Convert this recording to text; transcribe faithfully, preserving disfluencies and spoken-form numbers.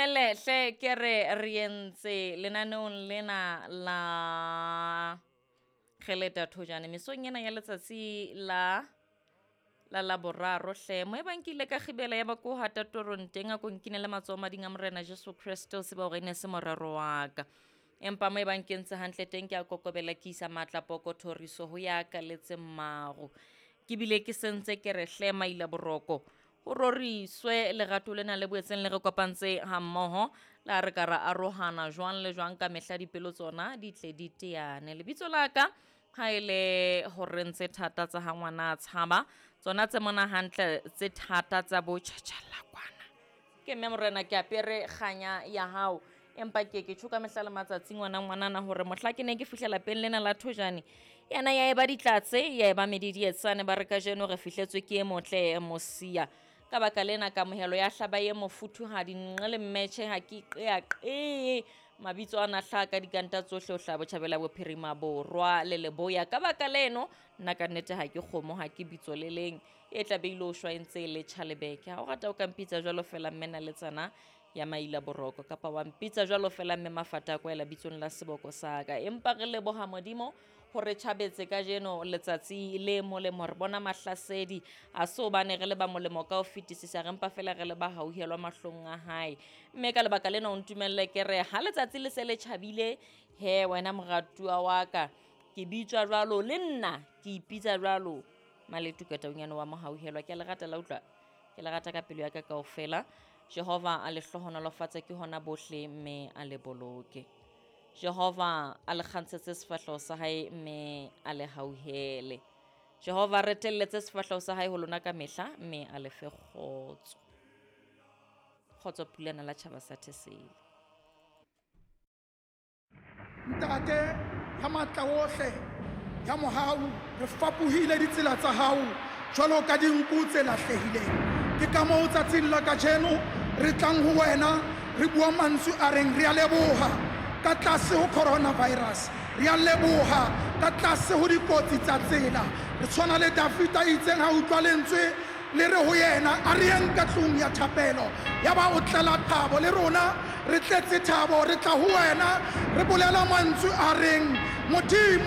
Ntumelle hle ke re re entse lenaneong lena la Kgeleta Thojane mesong ena ya letsatsi la la Laboraro hle. Mo ebang ke ile ka kgibela ya ba ko hata torong teng a ko nkinele matsoho mading a Morena Jesu Kreste o tseba hore e ne se morero wa ka. Empa mo ebang ke ntse hantle teng ke a kokobela ke isa matla poko thoriso ho ya ka letse maro. Ke bile ke sentse ke re hle maila boroko. Ho roriswe lerato lena le boetseng le re kopantse ha mmoho le ha re ka ra arohana jwang le jwang ka mehla dipelo tsona di tle di teane. Lebitso la ka ha ele horeng tse thata tsa ha ngwana a tshaba, tsona tse mona hantle tse thata tsa bo tjhatjhalla kwana. Ke mme morena ke apere kganya ya hao. Empa ke ke tjho ka mehla le matsatsi ngwana ngwanana hore mohla ke ne ke fihla lapeng lena la Thojane, yena ya eba ditlatse, ya eba medidietsane ba re kajeno re fihletswe ke e motle mosia. Ka baka lena kamohelo ya hlaba e mofuthuhadi nqe le mmetjhe ha ke qeaqee. Mabitso ana hlaha ka dikanta tsohle ho hlaha botjhabela bophirima borwa le leboya. Ka baka leno nna ka nnete ha ke kgomo ha ke bitso le leng e tla be ile ho shwa e ntse e le tjhalebeke. Ha o rata o ka mpitsa jwalo feela mme naletsana ya maila boroko kapa wa mpitsa jwalo feela mme mafata a kwaela bitsong la seboko sa ka. Empa re leboha Modimo hore tjhabetse kajeno letsatsi le molemo, re bona mahlasedi a se hobane re le ba molemo ka ho fetisisa, re mpa feela re le ba hauhelwa mahlong a hae. Mme ka lebaka lena o ntumelle ke re ha letsatsi le se le tjhabile, he wena moratuwa wa ka, ke bitswa jwalo le nna ke ipitsa jwalo Maletu Kataunyane wa mohauhelwa. Ke a le rata la utlwa, ke le rata ka pelo ya ka kaofela. Jehova a le hlohonolofatse ke hona bohle mme a le boloke. Jehova a le kgantshetse sefahleho sa hae mme a le hauhele. Jehova a retelletse sefahleho sa hae ho lona ka mehla mme a le fe kgotso. Kgotso pulana la tjhaba sa Thesele. Ntate ya matla ohle ya mohau, re fapohile ditsela tsa hao jwalo ka dinku tse lahlehileng. Ke ka moo tsatsing la kajeno re tlang ho wena re bua mantswe a reng re a leboha ka tlase ho coronavirus, re a leboha ka tlase ho dikotsi tsa tsela. Re tshwana le Dafita itseng ha utlwa lentswe le re ho yena a re yeng ka tlung ya thapelo, ya ba o tlela thabo. Le rona re tletse thabo, re tla ho wena re bolela mantswe a reng Modimo